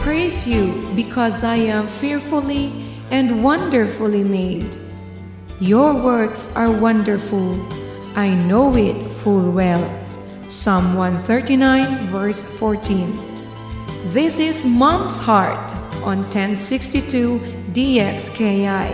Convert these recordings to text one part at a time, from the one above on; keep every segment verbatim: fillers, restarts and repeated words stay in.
Praise you because I am fearfully and wonderfully made. Your works are wonderful. I know it full well. Psalm one thirty-nine, verse fourteen. This is Mom's Heart on ten sixty-two D X K I.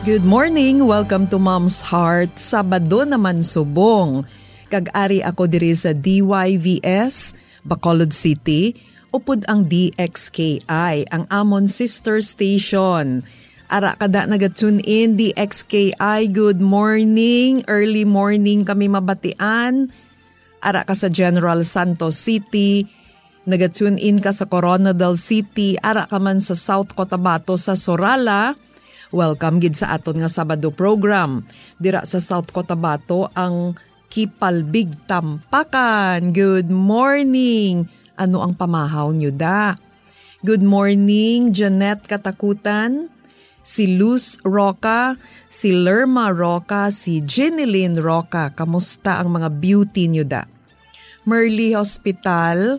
Good morning! Welcome to Mom's Heart. Sabado naman subong. Kag ari ako diri sa D Y V S, Bacolod City, upod ang D X K I, ang amon sister station. Ara kada naga-tune in, D X K I, good morning. Early morning kami mabatian. Ara ka sa General Santos City, naga-tune in ka sa Koronadal City, ara ka man sa South Cotabato, sa Sorala, welcome gid sa aton nga Sabado program. Dira sa South Cotabato, ang Kipalbig Tampakan. Good morning! Ano ang pamahaw nyo da? Good morning, Jeanette Katakutan, si Luz Roca, si Lerma Roca, si Jeneline Roca. Kamusta ang mga beauty nyo da? Merly Hospital,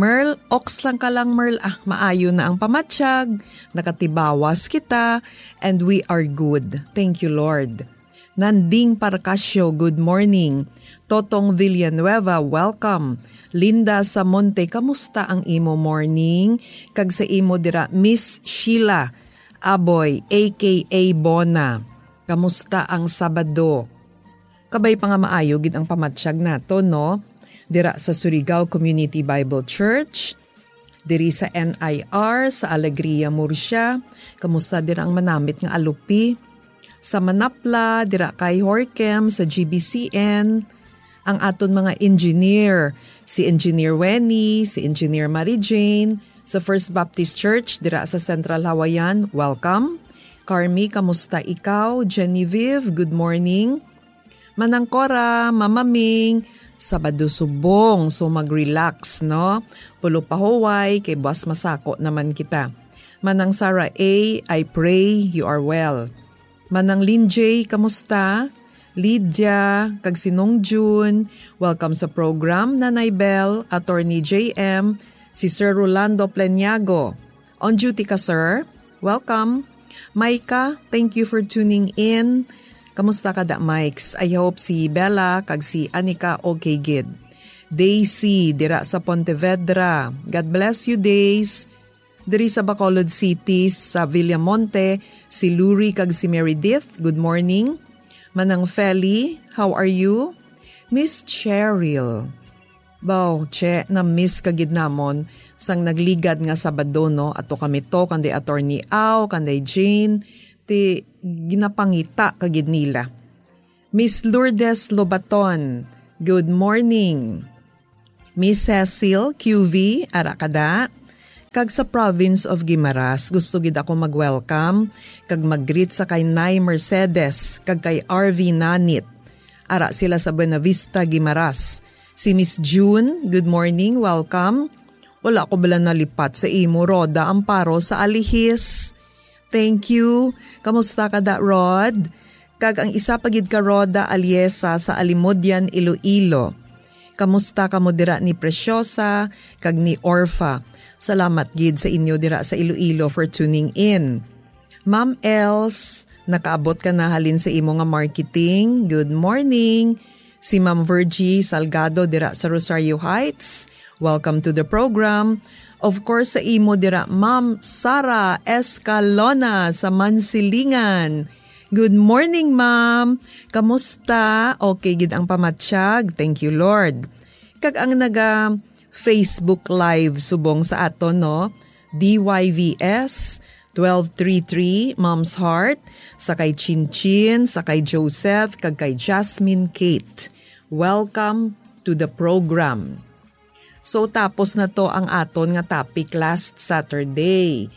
Merl, oks lang ka lang, Merl. Ah, maayo na ang pamatyag. Nakatibawas kita, and we are good. Thank you, Lord. Nanding Parcasio, good morning. Totong Villanueva, welcome. Linda Samonte, kamusta ang imo morning? Kag sa imo dira, Miss Sheila Aboy, A K A Bona, kamusta ang Sabado? Kabay pa nga maayo gid ang pamatyag nato, no? Dira sa Surigao Community Bible Church, diri sa N I R, sa Alegria, Murcia. Kamusta dira ang manamit nga alupi? Sa Manapla, dira kay Horkem, sa G B C N. Ang aton mga engineer, si Engineer Wenny, si Engineer Mary Jane, sa First Baptist Church, dira sa Central Hawaiian, welcome. Carmi, kamusta ikaw? Genevieve, good morning. Manang Cora, Mama Ming, Sabado subong, so mag-relax, no? Pulo pa huway, kay buwas masako naman kita. Manang Sarah A, I pray you are well. Manang Lynn J, kamusta? Lydia, kag si Nong June, welcome sa program, Nanay Bell, Attorney J M, si Sir Rolando Pleniago. On duty ka, sir? Welcome. Micah, thank you for tuning in. Kamusta ka da, Mikes? I hope si Bella kag si Anika okay gid. Daisy, dira sa Pontevedra. God bless you, Days. Diri sa Bacolod City, sa Villamonte, si Luri kag si Meredith. Good morning. Manang Feli, how are you? Miss Cheryl. Baw, che, na-miss ka gid namon sang nagligad nga Sabado, no? Ato kami to, kanday Attorney Au, kanday Jane, ti ginapangita ka gid nila. Miss Lourdes Lobaton, good morning. Miss Cecil Q V, ara ka da? Kag sa province of Guimaras, gusto gid ako mag-welcome kag mag-greet sa kay Nay Mercedes kag kay R V Nanit. Ara sila sa Buenavista, Guimaras. Si Miss June, good morning, welcome. Wala ko bala nalipat sa imo, Rhoda Amparo sa Alihis. Thank you. Kamusta ka da, Rod? Kag ang isa pa gid ka, Rhoda Aliesa sa Alimodian, Iloilo. Kamusta kamo dira ni Preciosa kag ni Orfa? Salamat gid sa inyo dira sa Iloilo for tuning in. Ma'am Els, nakaabot ka na halin sa imo nga marketing. Good morning. Si Ma'am Virgie Salgado dira sa Rosario Heights. Welcome to the program. Of course, sa imo dira, Ma'am Sara Escalona sa Mansilingan. Good morning, ma'am. Kamusta? Okay gid ang pamatyag. Thank you, Lord. Kag ang naga Facebook Live subong sa aton, no? D Y V S twelve three three, Mom's Heart, sa kay Chin Chin, sa kay Joseph, kag kay Jasmine Kate. Welcome to the program. So, tapos na to ang aton nga topic last Saturday.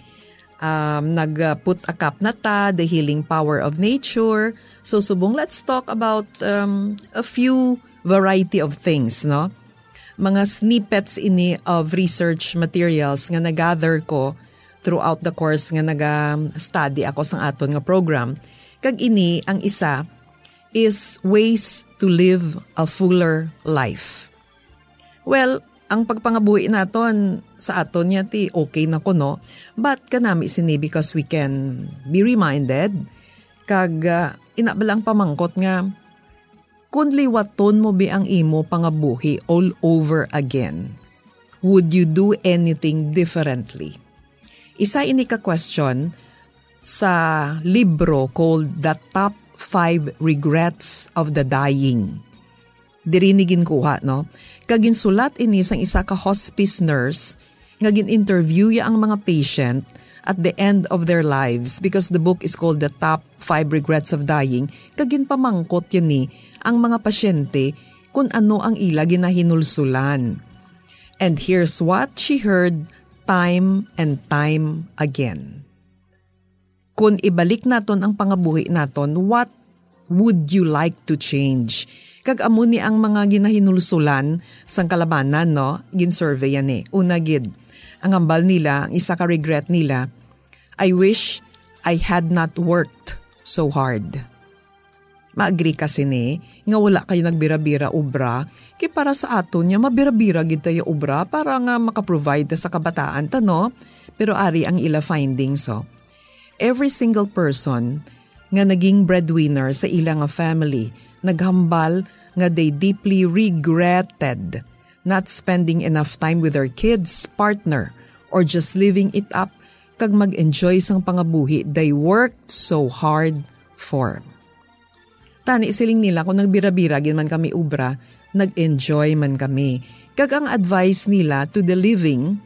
Um, nag-put a cap na ta, the healing power of nature. So, subong, let's talk about, um, a few variety of things, no? Mga snippets ini of research materials nga na-gather ko throughout the course nga naga-study ako sang aton nga program. Kag ini ang isa is ways to live a fuller life. Well, ang pagpangabuhi naton sa aton niya ti okay na kuno, but kanami sini because we can be reminded, kag ah, ina bala ang pamangkot nga, kun liwaton mo bi ang imo pangabuhi all over again, would you do anything differently? Isa ini ka question sa libro called The Top Five Regrets of the Dying. Diri ni ginkuha, no? Kag ginsulat ini sang isa ka hospice nurse nga gin-interview ya ang mga patient at the end of their lives, because the book is called The Top Five Regrets of Dying, kag ginpamangkot ya ni ang mga pasyente kun ano ang ila ginahinulsulan. And here's what she heard time and time again. Kun ibalik naton ang pangabuhi naton, what would you like to change? Kag amo ni ang mga ginahinulsulan sang kalabanan, no? Gin-survey yan eh. Una gid, ang hambal nila, ang isa ka regret nila, "I wish I had not worked so hard." Maagree ka sini nga wala kayo nagbira-bira obra, kay para sa aton niya mabira-bira gid tayo obra para nga makaprovide ta sa kabataan ta, no? Pero ari ang ila findings, oh. Every single person nga naging breadwinner sa ila nga family naghambal nga they deeply regretted not spending enough time with their kids, partner, or just living it up kag mag-enjoy sang pangabuhi they worked so hard for. Tani siling nila, kung nagbira-bira gid man kami obra, nag-enjoy man kami. Kag ang advice nila to the living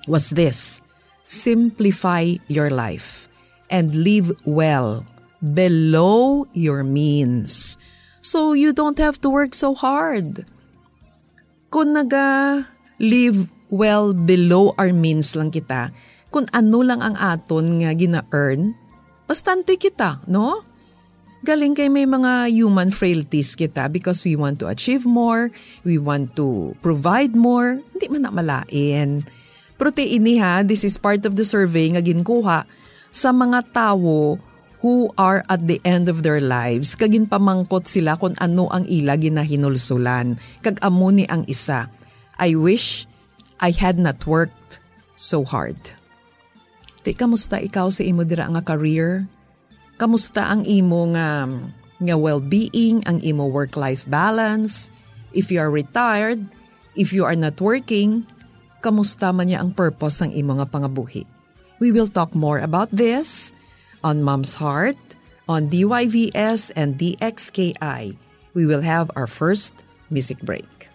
was this: simplify your life and live well below your means. So you don't have to work so hard. Kung naga-live well below our means lang kita, kung ano lang ang aton nga gina-earn, bastante kita, no? Galing kay may mga human frailties kita because we want to achieve more, we want to provide more, hindi man na malain. Pero ti ini ha, this is part of the survey nga ginkuha sa mga tawo who are at the end of their lives, kag ginpamangkot sila kung ano ang ila ginahinulsulan. Kag amo ni ang isa, "I wish I had not worked so hard." Ti, kamusta ikaw sa imo dira nga career? Kamusta ang imo nga, nga well-being, ang imo work-life balance? If you are retired, if you are not working, kamusta man niya ang purpose sang imo nga pangabuhi? We will talk more about this on Mom's Heart, on D Y V S and D X K I. We will have our first music break.